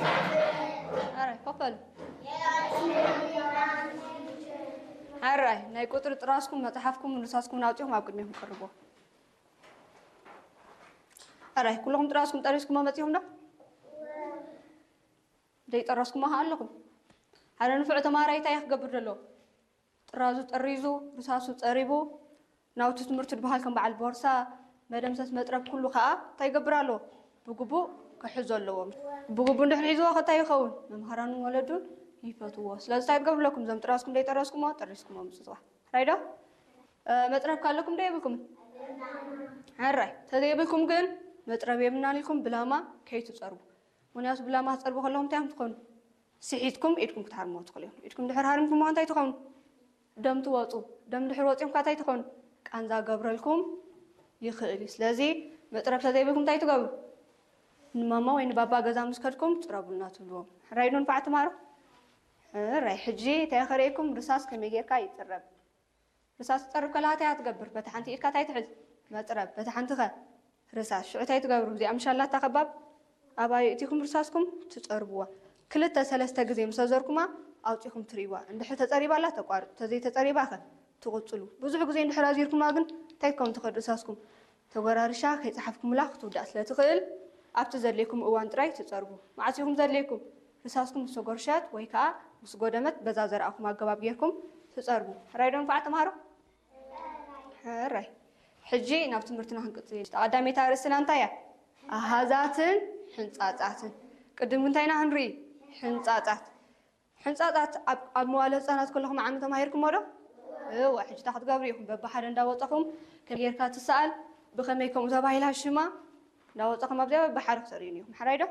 ኣራይ ኮፈሉ። ኣራይ ናይ ቁፅሪ ጥራዝኩም መፅሓፍኩም ርሳስኩም ኣውፂኹም ኣብ ቅድሚኹም ቅርቦ። ኣራይ ኩልኹም ጥራዝኩም ጠሪዝኩሞ መፂኹም ዶ? ዘይጠረስኩሞ ከ ኣለኹም? ሓደ ንፉዕ ተማሃራይ እንታይ ክገብር ዘለዎ? ጥራዙ ጠሪዙ፣ ርሳሱ ጸሪቡ፣ ናውቲ ትምህርቱ ዝበሃል ከም በዓል ቦርሳ፣ መደምሰስ መጥረብ ኩሉ ከኣ እንታይ ይገብር ኣለዎ? ብግቡእ ክሕዞ ኣለዎ። ብግቡእ እንድሕር ሒዝዎ ከ እንታይ ይኸውን? መምሃራኑን ወለዱን ይፈትዎ። ስለዚ እንታይ ትገብሩ ኣለኩም? እዞም ጥራዝኩም ዘይጠረዝኩሞ ጠሪዝኩሞ ምጽጽዋ። ሕራይ ዶ? መጥረብ ከ ኣለኩም ዶ የብልኩምን? ሕራይ ተዘይብልኩም ግን መጥረብ የብልናን ኢልኩም ብላማ ከይትጸርቡ። ምኽንያቱ ብላማ ትጸርቡ ከለኹም እንታይ እዮም ትኾኑ? ስሒትኩም ኢድኩም ክትሃርምዎ ትኽእሉ እዮም። ኢድኩም ድሕር ሃርምኩምዋ እንታይ ትኾኑ? ደም ትወፁ። ደም ድሕር ወፂኹም ከ እንታይ ትኾኑ? ቃንዛ ገብረልኩም ይኽእል እዩ። ስለዚ መጥረብ ተዘይብልኩም እንታይ ትገብሩ? ንማማ ወይ ንባባ ገዛ ምስ ከድኩም ጽረቡልና ትብልዎም። ሕራይ ዶ ንፋዕ ትማሩ? ሕራይ ሕጂ እንታይ ከርእየኩም ርሳስ ከመይ ጌርካ ይጽረብ? ርሳስ ትጸርብ ከላ እንታይ ትገብር? በታ ሓንቲ ኢድካ እንታይ ትሕዝ? መጥረብ። በታ ሓንቲ ከ? ርሳስ። ሽዑ እንታይ ትገብሩ? እዚኣ ምሻላታ ከባብ ኣባይ እቲኹም ርሳስኩም ትጸርብዋ። ክልተ ሰለስተ ግዜ ምስ ኣዘርኩማ ኣውጺኹም ትርእይዋ። እንድሕር ተጸሪባ ኣላ ተቋርጹ። ተዘይተጸሪባ ከ? ትቕጽሉ። ብዙሕ ግዜ እንድሕር ኣዚርኩማ ግን እንታይ ክከውን ትኽእል ርሳስኩም? ተጎራርሻ ከይጸሓፍኩምላ ክትውዳእ ስለ ትኽእል ኣብቲ ዘድልየኩም እዋን ጥራይ ትጸርቡ። መዓስ ኢኹም ዘድልየኩም? ርሳስኩም ምስ ተጎርሸት ወይ ከኣ ምስ ጎደመት በዛ ዘርኣኹም ኣገባብ ጌርኩም ትጸርቡ። ሕራይ ዶ ንፋዕ ተምሃሮ? ሕራይ። ሕጂ ናብ ትምህርትና ክንቅጽል ኢና። ቀዳመይቲ ኣርእስትና እንታይ እያ? ኣሃዛትን ሕንጻጻትን። ቅድም እንታይ ኢና ክንርኢ? ሕንጻጻት። ሕንጻጻት ኣብ ኣብ መዋለ ህጻናት ከለኹም ዓሚ ተማሂርኩሞ ዶ? እወ፣ ሕጂ እንታይ ክትገብሩ ኢኹም? በብሓደ እንዳወጻኹም ከመይ ጌርካ ትሰኣል፣ ብኸመይ ከምኡ ተባሂላ ሽማ እንዳወጻኹም ኣብዚኣ በብሓደ ክትርእዩኒ ኢኹም። ሓራይ ዶ?